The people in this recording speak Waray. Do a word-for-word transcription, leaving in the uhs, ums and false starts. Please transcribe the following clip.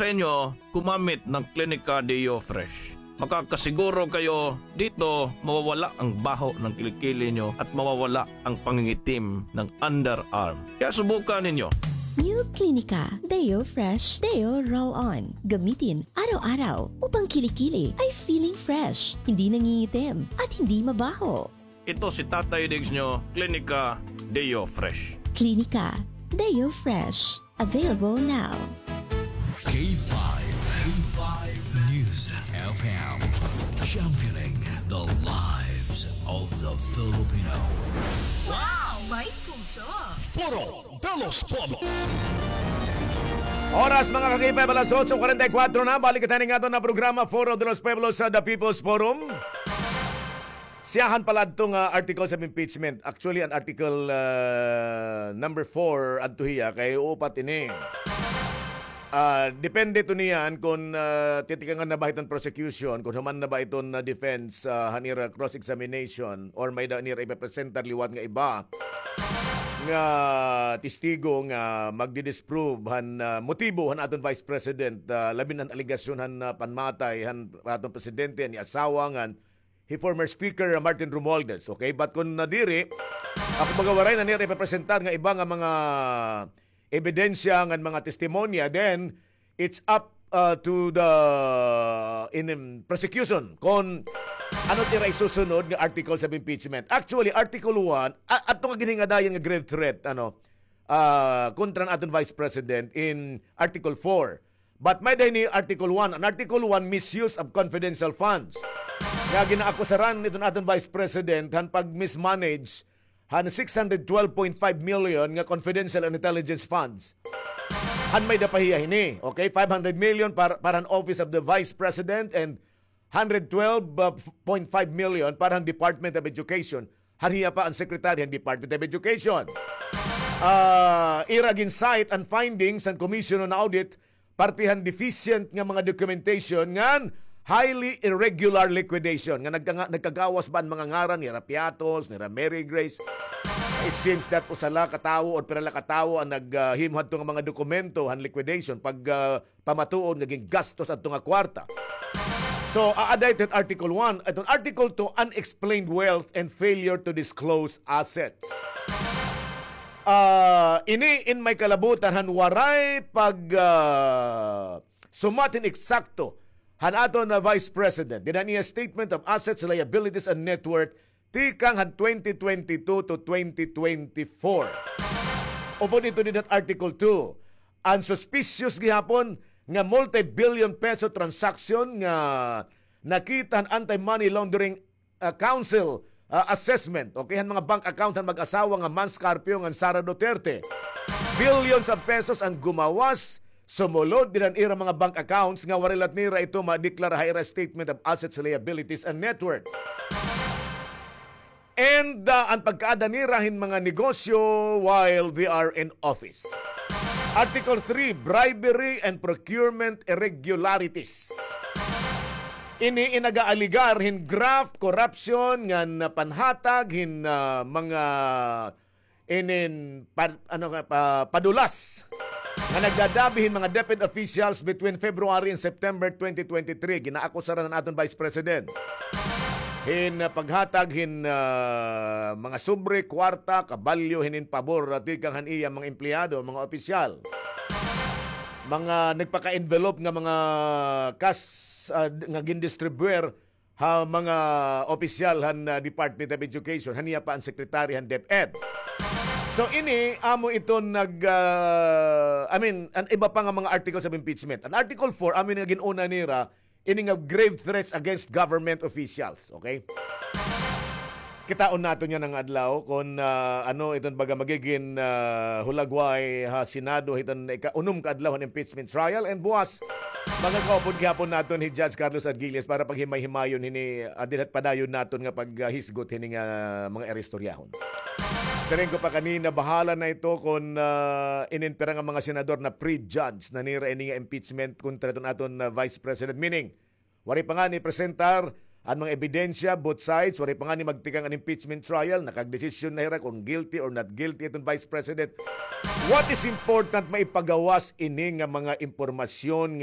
sa inyo gumamit ng Klinika Deo Fresh. Makakasiguro kayo dito mawawala ang baho ng kilikili nyo at mawawala ang pangingitim ng underarm. Kaya subukan ninyo. New Klinika Deo Fresh Deo Roll-On. Gamitin araw-araw upang kilikili ay feeling fresh, hindi nangingitim, at hindi mabaho. Ito si Tatay Diggs nyo, Klinika Deo Fresh. Klinika Deo Fresh. Available now. K five, K five News F M, championing the lives of the Filipino. Wow! May puso! Foro de los Pueblos. Oras, mga ka-K five, alas otso kuwarenta y kuwatro na. Balik kita ning aton na programa, Foro de los Pueblos, sa The People's Forum. Siyahan pala adto nga articles of impeachment. Actually, an article, ah, number four adto hiya kay upat ini. Ah, depende to niyan kon, ah, titikangan na ba iton prosecution, kon human na ba iton, ah, defense, ah, han ira cross-examination, or may-ada nira ipepresentar liwat nga iba nga testigo nga magdi-disprove han, ah, motibo han aton Vice President, ah, labi na han alegasyon han, ah, panmatay han aton presidente, han iya asawa ngan hi former Speaker Martin Romualdez, okay? But kon nadiri, ako baga waray na nira ipepresentar nga iba nga mga ebidensya ngan mga testimonya, then it's up, uh, to the in, in prosecution kon ano it ira isusunod nga articles of impeachment. Actually, Article one, a-, adto nga ginhingadayan nga grave threat, ano, ah, kontra han aton Vice President in Article four. But may-ada ini Article one. An Article one, misuse of confidential funds. Nga ginaakusaran iton aton Vice President han pag-mismanage han six hundred twelve point five million nga confidential and intelligence funds. Han may-ada pa hiya hini, okay? Five hundred million para, para han Office of the Vice President and hundred twelve point five million para han Department of Education. Han hiya pa an Secretary han Department of Education. Ah, ira gin-cite an findings han Commission on Audit, parte han deficient nga mga documentation ngan highly irregular liquidation nga nagka-, nagkagawas ba an mga ngaran nira Piatos, nira Mary Grace. It seems that usa la ka tawo or pira la ka tawo an nag, ah, himo hadto nga mga dokumento han liquidation pag, ah, pamatuod nga gingastos adto nga kwarta. So, aada ito Article one. Iton Article two, unexplained wealth and failure to disclose assets. Ah, ini in may kalabutan han waray pag, ah, sumat hin eksakto han aton nga Vice President. Dida niya statement of assets, liabilities, and net worth tikang han twenty twenty-two to twenty twenty-four. Upod ito dida Article two, an suspicious gihapon nga multi-billion peso transaction nga nakita han Anti-Money Laundering, ah, Council, ah, assessment, okay, han mga bank account han mag-asawa nga Mans Carpio ngan Sara Duterte. Billions of pesos an gumawas, sumulod dida han ira mga bank accounts nga waray la nira ito madeklara ha ira statement of assets, liabilities, and net worth. And, ah, an pagkaada nira hin mga negosyo while they are in office. Article three, bribery and procurement irregularities. Ini in nag-aaligar hin graft, corruption, ngan panhatag hin, ah, mga inin pa-, ano nga, pa-, padulas nga nagdadabi hin mga DepEd officials between February and September twenty twenty-three. Ginaakusaran an aton Vice President hin, ah, paghatag hin, ah, mga sobre, kwarta, kabalyo, hinin pabor, ah, tikang han iya mga empleyado, mga opisyal. Mga nagpaka-envelope nga mga cash, ah, nga gindistribuer ha mga opisyal han, ah, Department of Education, han iya pa an secretary han DepEd. So, ini, amo iton nag, ah, I mean, an iba pa nga mga articles of impeachment. An Article four, amo ini nga gin-una nira, ini nga grave threats against government officials, okay? Kitaon naton yana nga adlaw kon, ah, ano iton baga magigin, ah, hulagway ha Senado hiton ika-unom ka adlaw han impeachment trial. And buwas, makakaupod gihapon naton hi Judge Carlos Argilles para paghimay-himayon hini, ah, dinhat padayon naton nga paghisgot hini nga mga iristoryahon. Siring ko pa kanina, bahala na ito kon, ah, inin pira nga mga senador na prejudge na nira ini nga impeachment kontra iton aton, ah, Vice President. Meaning, waray pa ngani presentar an mga ebidensya, both sides, waray pa ngani magtikang an impeachment trial, nakagdesisyon na hira kon guilty or not guilty iton Vice President. What is important, maipagawas ini nga mga impormasyon